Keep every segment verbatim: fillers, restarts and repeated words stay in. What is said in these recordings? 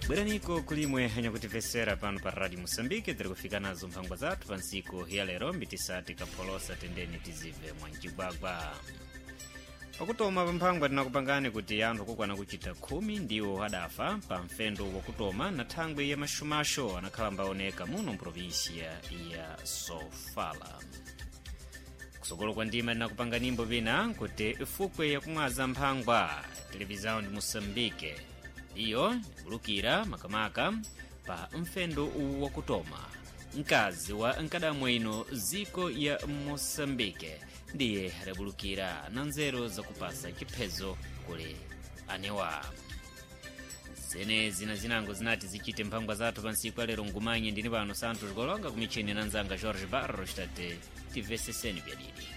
Bweraniko kulimwe anyakutimvesera pano pa Radio Moçambique, tiri kufika nazo mphangwa zathu pa ntsiku ya lero mbitisati kapholosa tendeni tizive mwancigwagwa. Pakutoma pa mphangwa tinakupangani kuti anthu akukwana kuchita khumi ndiwo adafa pa mfendo wakutoma na thangwi ya maxumaxo anakhala mbaoneka muno mprovinsia ya Sofala. Kusokolo kwa ndima tinakupanga nimbo pina kuti ifukwe yakumwaza mphangwa televisão de Moçambique iyo ikulukira makamaka pa mfendo wakutoma mkazi wa nkadamwe ino ziko ya Moçambique ndiye adabulukira na nzeru zakupasa chiphezo kuli anewa. Zenezi na zinango zinati zichite mphangwa zathu pa ntsiku alero ngumanye ndini pano Santos Golonga kumichini na nzanga Jorge Barros tate tiveseseni byadidi.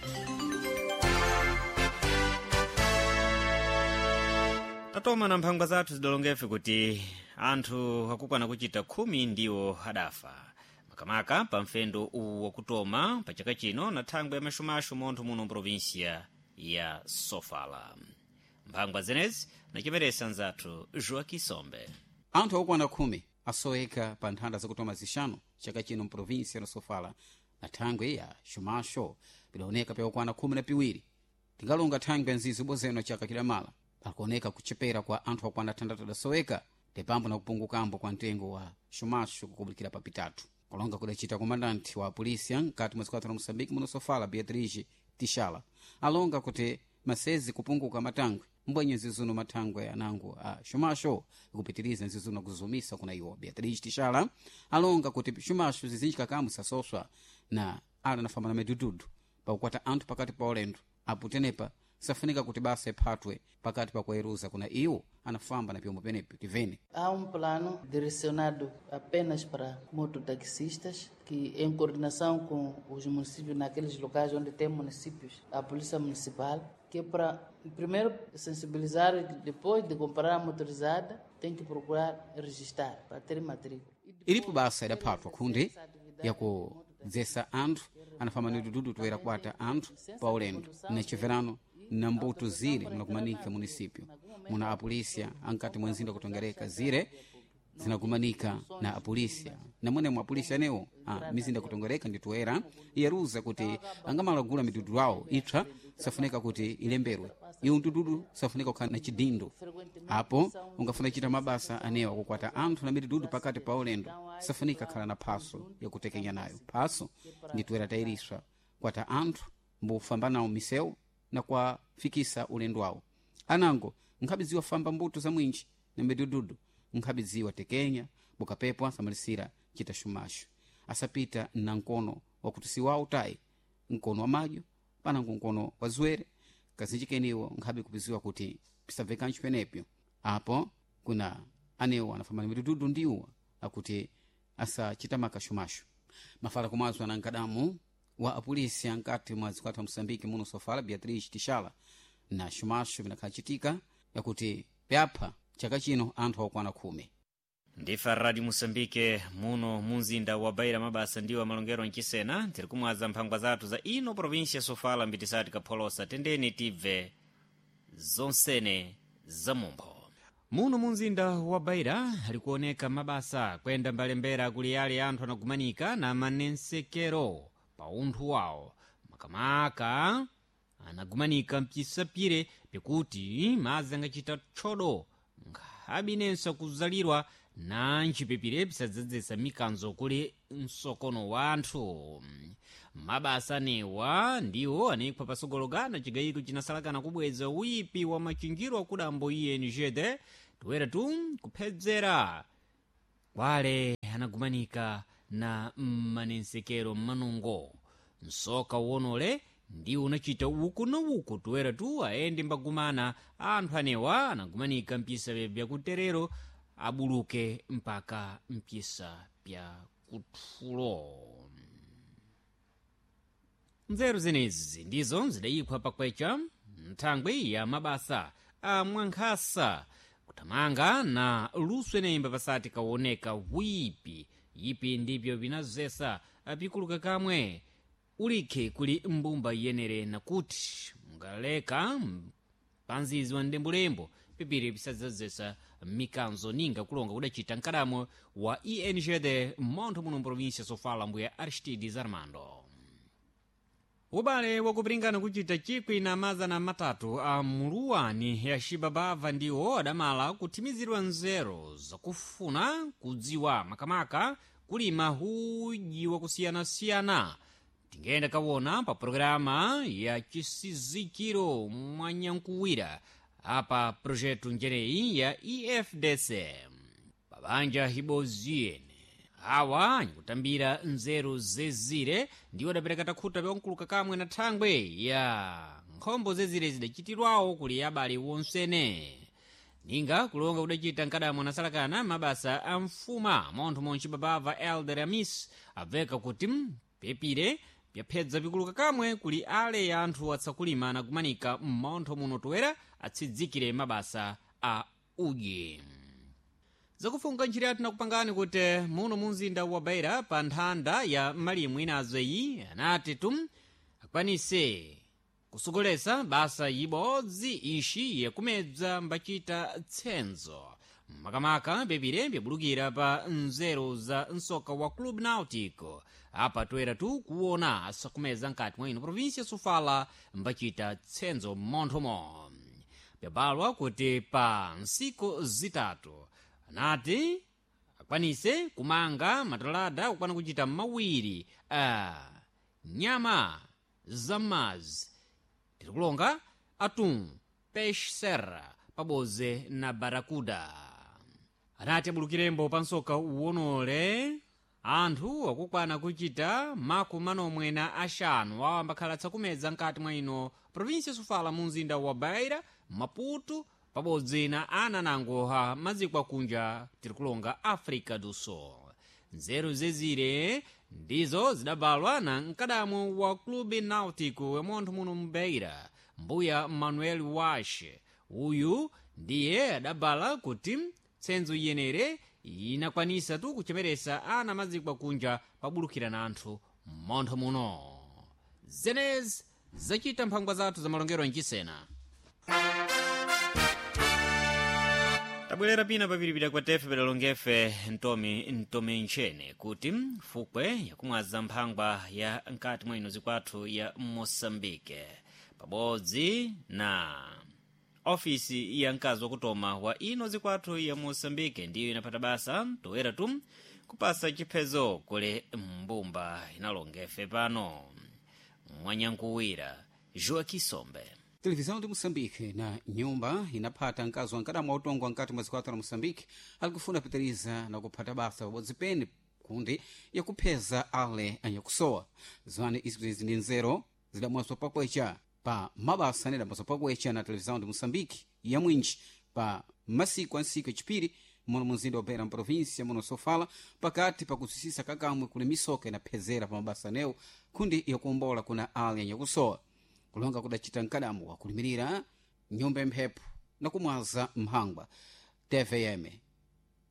Tatoma na mphangwa zathu zidalongefe kuti anthu akukwana kuchita khumi ndiwo adafa makamaka pa mfendo uwu wakutoma pa chaka chino na thangwi ya maxumaxu montho muno mprovinsia ya Sofala. Mphangwa zenezi nachiperesa nzathu Joaquim Sombe. Anthu okwana khumi asoweka pa nthanda zakutoma zixanu chaka chino mprovinsia ya Sofala na thangwi ya xumaxo pidaoneka pyakukwana khumi na piwiri. Tingalonga thangwi ya nzizi bozeno chaka chidamala pakuoneka kuchepera kwa anthu okwana thandatu adasoweka ndipambo na kupungukambo kwa mtengo wa xumaxo kukubulikira pa pitatu. Kulonga kudacita komandanti wa polisia mkati mwa zikwathu la Moçambique muno Sofala, Beatriz Tishala, alonga kuti masezi kupunguka matangwe mbwenye nzizuno mathangwe anango a xumaxo ikupitiriza nzizuno kuzumisa kuna iwo. Beatriz Tishala alonga kuti xumaxo zizinji kakamu sasoswa na ala nafamba na midududu pakukwata anthu pakati pa ulendo apo tenepa safunika kuti basa iphatwe pakati pa kueruza kuna iwo anafamba na pyombo penepo tivene. Há um plano direcionado apenas para mototaxistas que, em coordenação com os municípios, naqueles locais onde tem municípios, a polícia municipal, que é para primeiro sensibilizar, depois de comprar a motorizada, tem que procurar registrar para ter matrícula. Ilipo basa idaphatwa kundi yakudzesa anthu anafamba ni dududu toera kwata anthu pa ulendo na chiverano na mbuto zire munakumanika munisipyo muna apolisia ankati mwa nzinda kutongereka zire zinakumanika na apolisia namwene mwa apolisia anewo a mizinda kutongereka nditoera iyeruza kuti angamalagula midudu awo ipsa safunika kuti ilemberwe iwo mdududu safunika kukhala na chidindo apo ungafuna chita mabasa anewo akukwata anthu na midududu pakati pa ulendo safunika khala na phaso yakutekenya nayo. Phaso nditoera tayiriswa kwata anthu mbufamba nawo misewu na kwafikisa ulendo wawo. Anango nkhabidziwa famba mbuto za mwinji na midududu nkhabidziwa tekenya bukapepwa samalisira chita xumaxo asapita na nkono wakuti siwawo tayi nkono wa madyo panango nkono wa zuwere kazinji keniwo nkhabe kupiziwa kuti pisabvekancho penepyo. Apo kuna anewo anafamba na midududu ndiwo akuti asachita makaxumaxo. Mafala kumazwa na nkadamu wa apolisi ankati mwa zikwathu wa Moçambique muno Sofala, Beatriz Tishala, na xumaxo vinakhacitika yakuti pyapha chaka chino anthu akukwana khumi. Ndifa Radio Moçambique muno munzinda wa Beira mabasa ndiwo amalongero mchisena tiri kumwaza mphangwa zathu za ino provinsia ya Sofala mbitisati kapholosa tendeni tibve zonsene za mumpho. Muno munzinda wa Beira alikuoneka mabasa kwenda mbalembera kuli yale anthu anagumanika na manensekero pa unthu wawo makamaka anagumanika mpisapire pikuti madzi angachita tchodo nkhabinenso kuzalirwa na ntchipepire pisadzadzesa mikanzo kuli msokono wa anthu. Mabasa anewa ndiwo anayikhwa pasogologana chigayiko chinasalakana kubweza uyipi wa machinjiro akudambo I N G D toera tu kuphedzera kwale anagumanika na manensekero mmanungo. Msoka uwonole ndiwo unachita uku na uku toera tu aende mbagumana anthu anewa anagumanika mpisa byakuterero abuluke mpaka mpisa pya kuthulo. Nzeru zenezi ndizo zidayikhwa pakwecha nthangwi ya mabasa a mwankhasa kuthamanga na luso enemba pasati kaoneka wipi ipi ndipyo vinazesa pikuluka kamwe ulikhe kuli mbumba iyenere nakuti mungaleka panzizi wa ndembulembo pipiri pisadzazesa mikanzo ninga kulonga kudacita mkadamo wa E N G D montho muno mprovinsia Sofala, mbuya Aristides Armando. Ubale wakupiringana kuchita chikwi na mazana matatu a muluwani ya Xibabava ndiwo adamala kuthimizidwa nzeru zakufuna kudziwa makamaka kulima huji wakusiyanasiyana. Tingenda kawona pa programa ya chisizikiro mwanyankuwira apa projetu njeneyi ya E F D C pabanja hiboziyene awa nikutambira nzeru zezire ndiwo adapereka takhuta pyankuluka kamwe na thangwe ya nkhombo zezire zidachitirwawo kuli abale wonsene ninga kulonga kudacita mkadamo nasalakana mabasa a mfuma montho monchi babava Elder Amis abveka kuti pepire pyaphedza pikuluka kamwe kuli ale ya anthu atsakulima nakumanika mmontho muno toera atsidzikire mabasa a udyi. Zakufunga ntchito yathu nakupangani kuti muno mu mzinda wa Beira pa nthanda ya malimu inazo iyi anati tum akwanise kusogolesa basa ibodzi ixi yakumedza mbacita tsenzo makamaka pepire pyabulukira pa nzeru za msoka wa Club Nautico. Apa toera tu kuona asakumeza nkati mwa ino província Sofala mbacita tsenzo mmonthomo. Pyabalwa kuti pa nsiku zitatu anati akwanise kumanga matalada kukwana kuchita mawiri a nyama zam'madzi tirikulonga atum, peixe serra pabodzi na baracuda. Anati abulukirembo pa msoka uwonole anthu akukwana kuchita makumi manomwe na axanu awo ambakhala tsakumedza nkati mwa ino província Sofala mu mzinda wa Beira, Maputo pabodzi na ana nangoha maziko akunja tirikulonga África do Sul. Nzeru zezire ndizo zidabalwa na mkadamo wa Clube Náutico ya montho muno mbeira, mbuya Manuel Wash. Uyu ndiye adabala kuti tsenzo iyenere inakwanisa tu kuchemeresa ana maziko akunja pabulukira na anthu mmontho muno. Zenezi zacita mphangwa zathu za malongero mchisena. Tabwerera pina papiripira kwa tefe pedalongefe ntomi ntomi ntchene kuti fukwe yakumwaza mphangwa ya nkati mwa ino zikwathu ya Moçambique pabodzi na ofisi ya mkazi wakutoma wa ino zikwathu ya Moçambique ndiyo inapata basa toera tu kupasa chiphezo kule mbumba inalongefe pano mwanyankuwira Joaquim Sombe. Televisão de Moçambique na nyumba inaphata mkazi wankadamu wautongwa nkati mwa zikwathu la Moçambique alikufuna pitiriza na kuphata basa pabodzi pene kundi yakupheza ale anyakusowa. Zwane izi ndi nzeru zidamwazwa pakwecha pa mabasa anedamwazwa pakwecha na Televisão de Moçambique ya mwinji pa masiku a ntsiku yacipiri muno munzinda wa Beira mprovíncia muno Sofala pakati pakusisisa kakamwe kuli misoka inaphezera pa mabasa anewo kundi yakuombola kuna ale anyakusowa. Kulonga kudacita mkadamu wakulimirira nyumba ya mphepo na kumwaza mphangwa T V M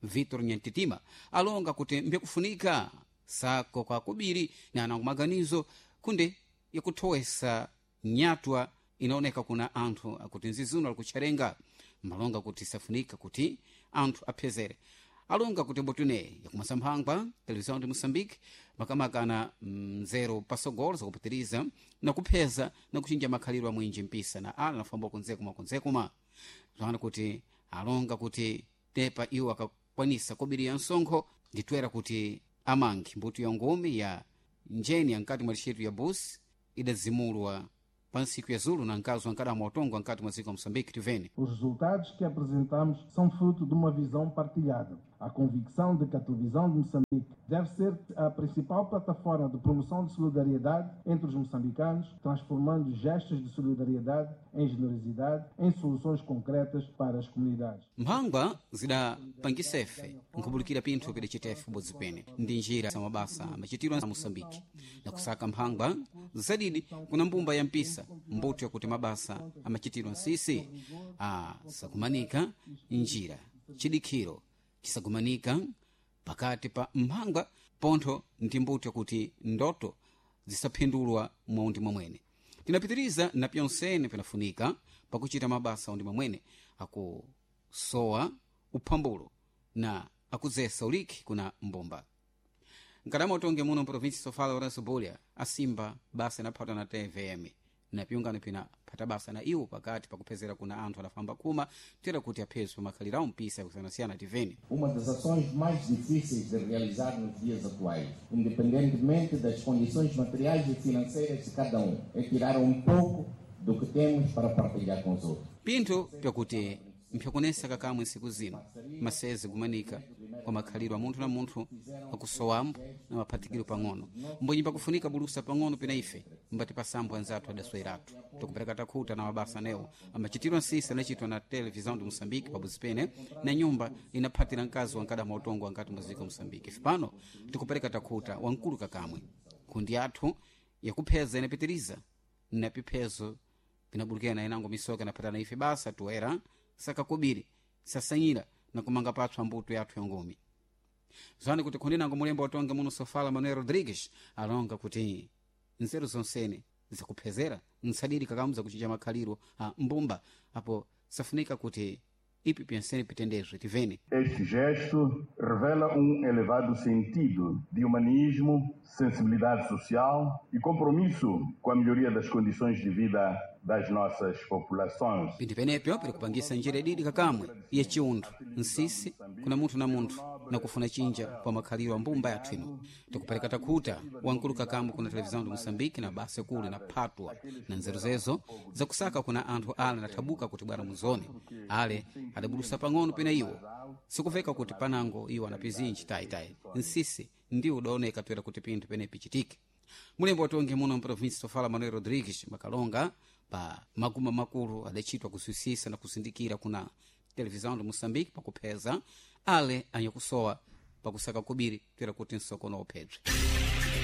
Vitor Nyantitima alonga kuti mbyakufunika sako kwa kubiri na anango maganizo kundi yakuthowesa nyatwa inaoneka kuna anthu akuti nzizuno alikutcharenga malonga kuti safunika kuti anthu aphezere. Alonga kuti mbotune yakumasa mphangwa Televisão de Moçambique makamaka ana mnzeru pasogolo zakupitiriza na kupheza na kuchinja makhalidwe a mwinji mpisa na ala nafamba kunzekuma kunzekuma zwana kuti alonga kuti tepa iwo akakwanisa kobiriya msonkho nditwera kuti amangi mbuto ya ngumi ya njeni yankati mwa lixetu ya busi idazimulwa pa ntsiku ya zulu na mkazi wa nkadamo wautongwa nkati mwa dziko la Moçambique tivene. Os resultados que apresentamos são fruto de uma visão partilhada. A convicção de que a televisão de Moçambique deve ser a principal plataforma de promoção de solidariedade entre os moçambicanos, transformando gestos de solidariedade em generosidade, em soluções concretas para as comunidades. Mphangwa zidapangisefe nkhubulukira pinthu pidacitefe kubodzi pene ndi njira za mabasa amachitidwa a Moçambique na kusaka mphangwa zadidi kuna mbumba ya mpisa mbuto yakuti mabasa amachitidwa nsisi asakumanika njira chidikhiro chisakumanika pakati pa mphangwa pontho ndi mbuto yakuti ndoto zisaphindulwa mwaundi mwamwene. Tinapitiriza na pyonsene pinafunika pakuchita mabasa aundi mwamwene akusowa. Uphambulo na akudzesa uliki kuna mbumba. Nkadama utonge muno mprovinsi Sofala, Lourenço Bulha asimba basa inaphata na T V M na piungano pina phata basa na iwo pakati pakuphezera kuna anthu adafamba khuma tera kuti aphezwe makhaliro awo mpisa yakusiyanasiyana. Tiveni. Uma das ações mais difíceis de realizar nos dias atuais, independentemente das condições materiais e financeiras de cada um, é tirar um pouco do que temos para partilhar com os outros. Pinthu pyakuti mpyakunesa kakamwe nsiku zino maseze kumanika kwa makhaliro a munthu na munthu akusowambo na maphatikiro pang'ono, mbonyi pakufunika bulusa pang'ono pena ife mbati pasambo anzathu adasweratu. Tikupereka takhuta na mabasa anewo amachitidwa nsisi anachitwa na Televisão de Moçambique pabuzi pene na nyumba inaphatira mkazi wankadama utongo ankati muziko Moçambique. Ife pano tikupereka takhuta wamkulu kakamwe kundi athu yakupheza inapitiriza na piphezo pinabulukira na inango misoka inaphatana ife basa tuwera sakakubiri sasanyira na kumanga patswa mbuto yathu ya ngumi. Zwani kuti khundinango mulembo watonga muno Sofala, Manuel Rodrigues, alonga kuti nzeru zonsene zakuphezera nsadiri kakamu zakuchinja makhaliro a mbumba apo safunika kuti ipi pyensene pitendezwe. Tiveni. Este gesto revela um elevado sentido de humanismo, sensibilidade social e compromisso com a melhoria das condições de vida das nossas populações. Pinthu penepyo pili kupangisa njira ididi kakamwe ya chiunthu nsisi kuna munthu na munthu nakufuna chinja pa makhaliro a mbumba yathu ino. Tikupereka takhuta wamkulu kakamwe kuna Televisão de Moçambique na basa kuli na phatwa na nzeru zezo zakusaka kuna anthu ale anathabuka kuti bwera muzone ale adabulusa pang'ono pena iwo sikuveka kuti panango iwo anapizinji tayitayi nsisi ndiwo udaoneka toera kuti pinthu penepi chitike. Mulembo watonge muno mprovinsi Sofala, Manuel Rodrigues, makalonga pa maguma makulu adachitwa kususisa na kusindikira kuna Televisão de Moçambique pakupheza ale anyakusowa pakusaka kubiri toera kuti nsokono uphedwe.